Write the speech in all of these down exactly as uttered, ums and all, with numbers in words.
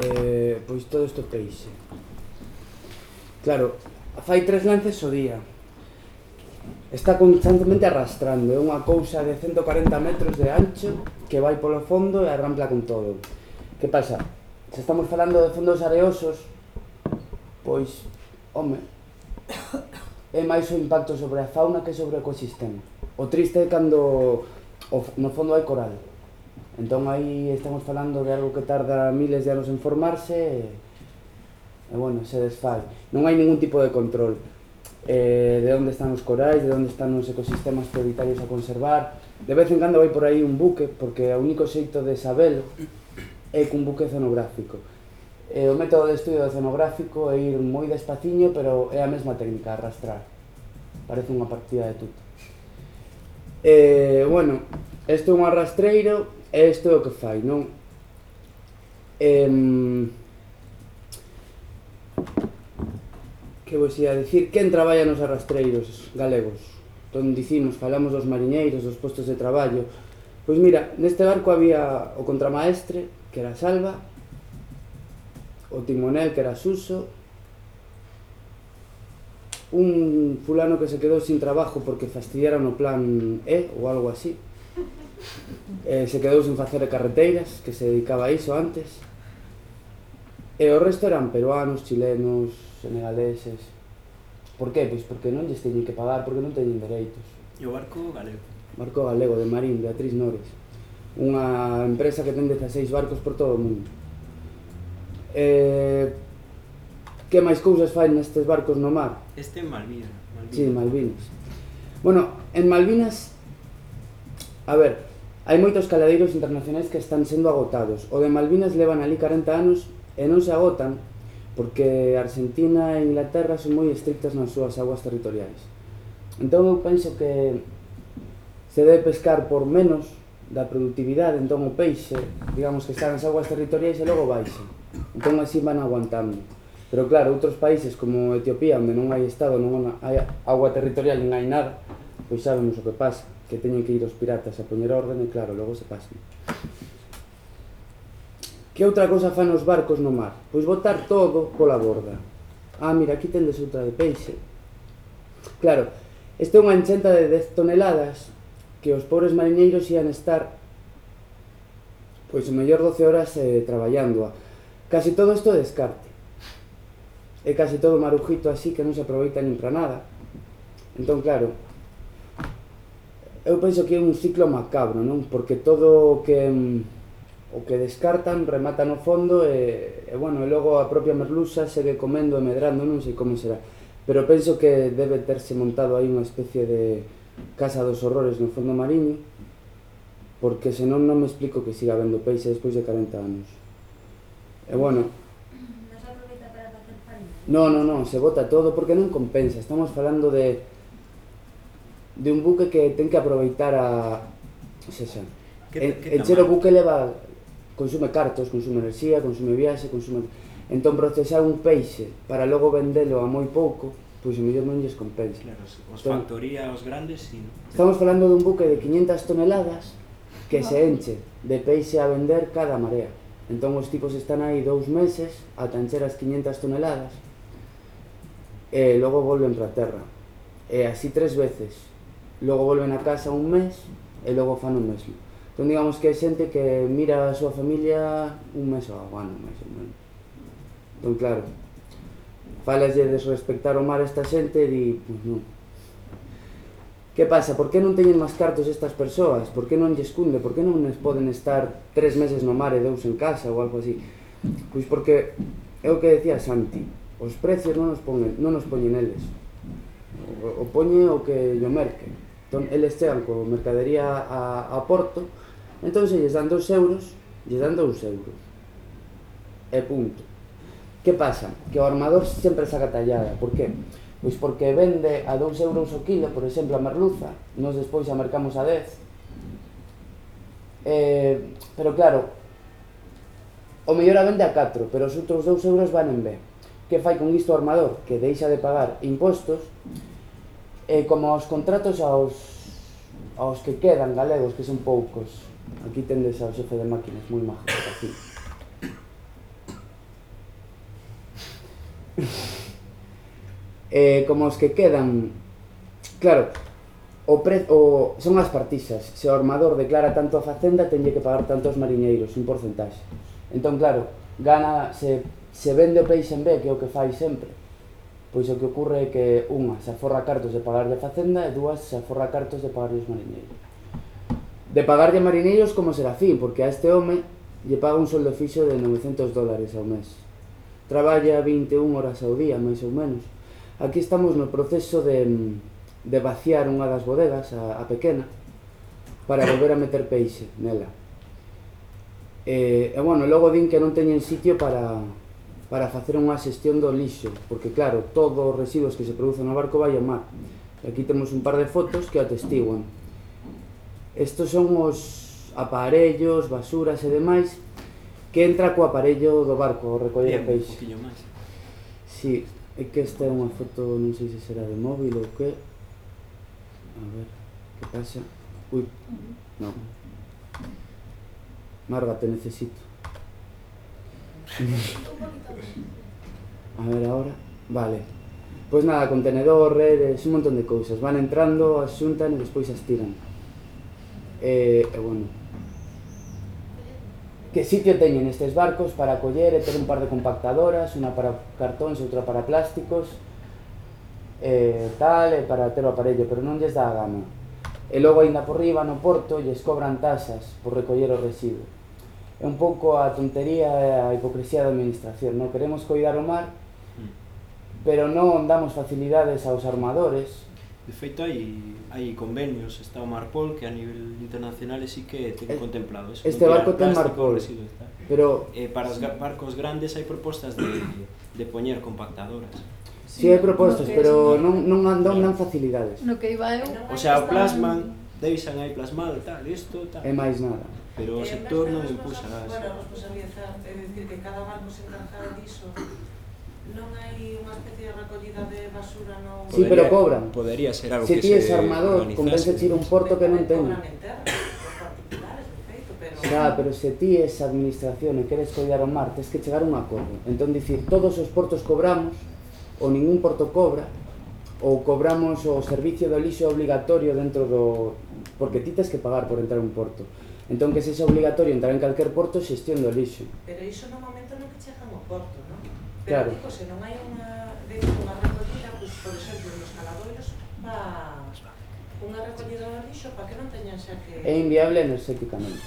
eh, pois todo isto peixe. Claro, fai tres lances ao día. Está constantemente arrastrando, é unha cousa de ciento cuarenta metros de ancho que vai polo fondo e arrampla con todo. Que pasa? Se estamos falando de fondos areosos, pois, home, é máis o impacto sobre a fauna que sobre o ecosistema. O triste é cando no fondo hai coral. Entón aí estamos falando de algo que tarda miles de anos en formarse e, e bueno, se desfai. Non hai ningún tipo de control eh, de onde están os corais, de onde están os ecosistemas prioritarios a conservar. De vez en cando vai por aí un buque, porque o único xeito de sabelo é cun buque oceanográfico. E o método de estudio oceanográfico é ir moi despaciño, pero é a mesma técnica, arrastrar. Parece unha partida de tuto. E, bueno, isto é un arrastreiro e isto é o que fai, non? E, que vos ia dicir? Quen traballa nos arrastreiros galegos? Entón dicimos, falamos dos mariñeiros, dos postos de traballo. Pois mira, neste barco había o contramaestre, que era Salva, o timonel, que era Suso, un fulano que se quedou sin trabajo porque fastidiaron o plan E ou algo así, eh, se quedou sin facer carreteiras, que se dedicaba a iso antes, e o resto eran peruanos, chilenos, senegaleses. Por que? Pois porque non lles teñen que pagar, porque non teñen dereitos. E o barco galego? Barco galego, de Marín, Beatriz Nores, unha empresa que ten dezaseis barcos por todo o mundo. Eh, que máis cousas fai nestes barcos no mar? Este en Malvinas. Malvinas. Sí, Malvinas. Bueno, en Malvinas, a ver, hai moitos caladeiros internacionais que están sendo agotados. O de Malvinas levan ali corenta anos e non se agotan porque Argentina e Inglaterra son moi estrictas nas súas aguas territoriais. Entón eu penso que se debe pescar por menos da productividade, entón o peixe, digamos que está nas aguas territoriais e logo baixa. Entón así van aguantando. Pero claro, outros países como Etiopía, onde non hai estado, non hai agua territorial, non hai nada, pois sabemos o que pasa, que teñen que ir os piratas a poñer orden e claro, logo se pasan. Que outra cosa fan os barcos no mar? Pois botar todo pola borda. Ah, mira, aquí tendes outra de peixe. Claro, esta é unha enchenta de dez toneladas que os pobres mariñeiros ian estar pois o mellor doce horas eh, traballándoa. Casi todo isto descarte. É casi todo marujito así que non se aproveita nin para nada. Entón, claro, eu penso que é un ciclo macabro, non? Porque todo o que o que descartan remata no fondo e, e bueno, e logo a propia merluza segue comendo e medrando, non sei como será. Pero penso que debe terse montado aí unha especie de casa dos horrores no fondo mariño, porque senón non me explico que siga habendo peixe despois de corenta anos. E bueno, non se aproveita para facer farina? non, non, non, se bota todo porque non compensa. Estamos falando de de un buque que ten que aproveitar a xa xa encher o buque leva, consume cartos, consume enerxía, consume viaxe, consume... Entón procesar un peixe para logo vendelo a moi pouco, pois o mellor non lles compensa. Claro, os factoría, os grandes, sí, non? Estamos falando dun buque de quinhentas toneladas que se enche de peixe a vender cada marea. Entón os tipos están aí dous meses ata encher as quinhentas toneladas e logo volven para a terra. E así tres veces. Logo volven a casa un mes e logo fan o mesmo. Entón digamos que é xente que mira a súa familia un mes ao ano, máis ou menos. Entón claro, falas de desrespectar o mar a esta xente e di, pois non. Que pasa? Por que non teñen máis cartos estas persoas? Por que non lles cunde? Por que non les poden estar tres meses no mar e dous en casa ou algo así? Pois porque é o que decía Santi, os precios non nos poñen, non nos poñen eles, o, o poñe o que yo merque. Entón eles chegan con mercadería a, a Porto, entón se lles dan dos euros, lles dan dous euros e punto. Que pasa? Que o armador sempre saca tallada. Por que? Pois porque vende a dous euros o kilo, por exemplo, a merluza, nos despois a mercamos a dez. Eh, pero claro, o mellor a vende a catro, pero os outros dous euros van en B. Que fai con isto o armador? Que deixa de pagar impostos e como os contratos aos, aos que quedan galegos, que son poucos. Aquí tendes ao xefe de máquinas, moi majo, así. eh, como os que quedan, claro, o pre, o, son as partisas. Se o armador declara tanto a facenda, tenlle que pagar tanto aos mariñeiros, un porcentaxe. Entón, claro, gana, se, se vende o peixe en B, que é o que fai sempre, pois o que ocurre é que unha se aforra cartos de pagarlle a facenda e dúas se aforra cartos de pagarlle os mariñeiros. De pagarlle a mariñeiros como Serafín, porque a este home lle paga un soldo fixo de novecentos dólares ao mes. Traballa vinte e unha horas ao día, máis ou menos. Aquí estamos no proceso de, de vaciar unha das bodegas, a, a pequena, para volver a meter peixe nela. E, e bueno, logo din que non teñen sitio para, para facer unha xestión do lixo, porque claro, todos os residuos que se producen no barco vai ao mar. E aquí temos un par de fotos que atestiguan. Estos son os aparellos, basuras e demais que entra co aparello do barco ao recoller o peixe. Un poquillo máis. Si, é que esta é unha foto, non sei se será de móvil ou que. A ver, que pasa? Ui, non. Marga, te necesito. A ver, ahora. Vale. Pois nada, contenedor, redes, un montón de cousas. Van entrando, as xuntan e despois as tiran. E, e bueno, que sitio teñen estes barcos para coller e ter un par de compactadoras, unha para cartóns e outra para plásticos, e tal, e para ter o aparello, pero non lles dá a gana. E logo ainda por riba no porto lles cobran tasas por recoller o residuo. É un pouco a tontería e a hipocresía da administración, non queremos coidar o mar, pero non damos facilidades aos armadores. De feito, hai, hai convenios, está o Marpol, que a nivel internacional sí que ten El, contemplado eso. Este barco ten Marpol, pero... Eh, para os barcos grandes hai propostas de, de poñer compactadoras. Si, sí, hai propostas, pero non, non dan, dan facilidades. No que iba eu... O sea, o plasman, deixan aí plasmado, tal, isto, tal. E máis nada. Pero o sector non impulsa nada. Bueno, a responsabilidade é dicir que cada banco se encarga diso. Non hai unha especie de recollida de basura no... Sí, pero cobran. Podería ser algo se que ti se es armador, convence ir un porto que non ten. Cobran en terra, os particulares, de feito, pero... Xa, pero se ti es administración e queres coidar o mar, tens que chegar a un acordo. Entón, dicir, todos os portos cobramos, ou ningún porto cobra, ou cobramos o servicio do lixo obligatorio dentro do... Porque ti tens que pagar por entrar a un porto. Entón, que se é obligatorio entrar en calquer porto, xestión do lixo. Pero iso no momento no que chegan ao porto, non? Claro. Pero, digo, se non hai unha, unha recollida, pues, por exemplo, nos caladoiros, va unha recollida do lixo para que non teñan xa que... É inviable enerxéticamente.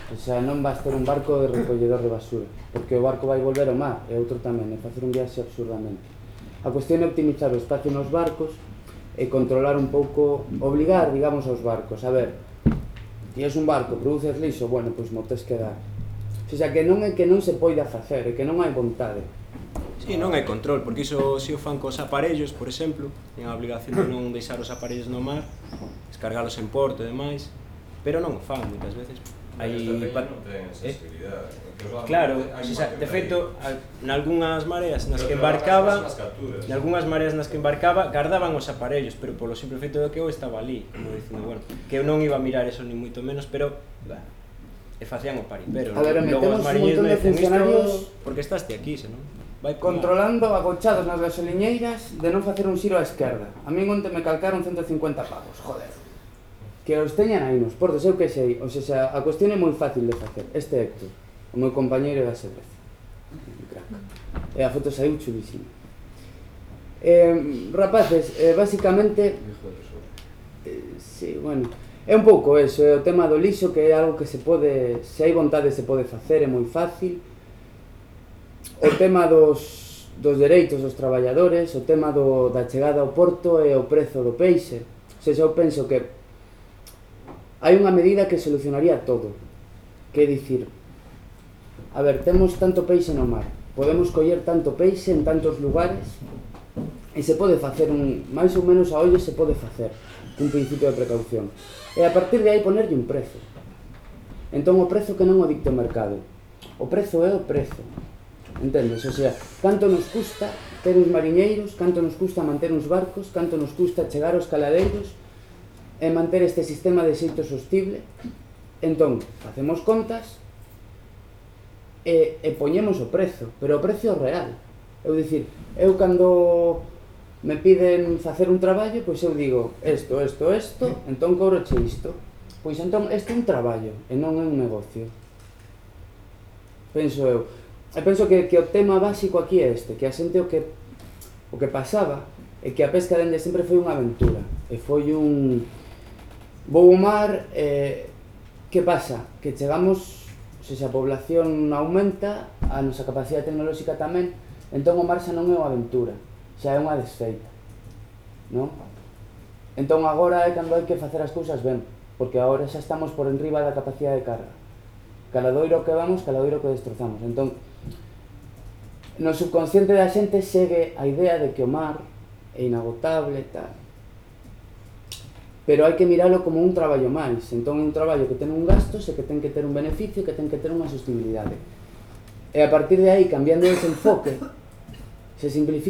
O sea, non vas ter un barco de recolledor de basura, porque o barco vai volver ao mar, e outro tamén, e facer un viaxe absurdamente. A cuestión é optimizar o espacio nos barcos e controlar un pouco, obligar, digamos, aos barcos. A ver, ti es un barco, produces lixo, bueno, pois mo tes que dar. O sea, que non é que non se poida facer, é que non hai vontade. Sí, non hai control, porque iso se o fan cos aparellos, por exemplo, ten a obligación de non deixar os aparellos no mar, descargalos en porto e demais, pero non o fan moitas veces. Hai pa... non ten sensibilidade. Eh? Claro, o sea, de feito, nalgúnas mareas nas que embarcaba, nalgúnas mareas nas que embarcaba, gardaban os aparellos, pero polo simple feito de que eu estaba ali, como dicindo, bueno, que eu non iba a mirar eso ni moito menos, pero, bah, e facían o paripero. A ver, metemos un montón de funcionarios porque estás ti aquí, senón vai controlando agochados nas gasoliñeiras de non facer un xiro á esquerda. A min onte me calcaron ciento cincuenta pavos, joder. Que os teñan aí nos portos, eu que sei. O sea, a cuestión é moi fácil de facer. Este Héctor, o meu compañeiro da cerveza. E a foto saiu chulísima. Eh, rapaces, eh, basicamente... Eh, sí, bueno... É un pouco eso, é o tema do lixo, que é algo que se pode... Se hai vontade se pode facer, é moi fácil. O tema dos, dos dereitos dos traballadores, o tema do, da chegada ao porto e o prezo do peixe. O sea, eu penso que hai unha medida que solucionaría todo. Que é dicir, a ver, temos tanto peixe no mar, podemos coller tanto peixe en tantos lugares e se pode facer un, máis ou menos a ollo se pode facer un principio de precaución. E a partir de aí ponerlle un prezo. Entón o prezo que non o dicte o mercado. O prezo é o prezo. Entendes? O sea, canto nos custa ter uns mariñeiros, canto nos custa manter uns barcos, canto nos custa chegar aos caladeiros e manter este sistema de xeito sostible. Entón, facemos contas e, e poñemos o prezo, pero o precio real. Eu dicir, eu cando me piden facer un traballo, pois eu digo isto, isto, isto, entón cobroche isto. Pois entón este é un traballo e non é un negocio. Penso eu. E penso que, que o tema básico aquí é este, que a xente o que o que pasaba é que a pesca dende sempre foi unha aventura e foi un vou ao mar e que pasa? Que chegamos, se a población aumenta, a nosa capacidade tecnolóxica tamén, entón o mar xa non é unha aventura, xa é unha desfeita, non? Entón agora é cando hai que facer as cousas ben, porque agora xa estamos por enriba da capacidade de carga. Caladoiro que vamos, caladoiro que destrozamos. Entón, no subconsciente da xente segue a idea de que o mar é inagotable e tal. Pero hai que miralo como un traballo máis. Entón é un traballo que ten un gasto, e que ten que ter un beneficio, que ten que ter unha sostenibilidade. E a partir de aí, cambiando ese enfoque, se simplifica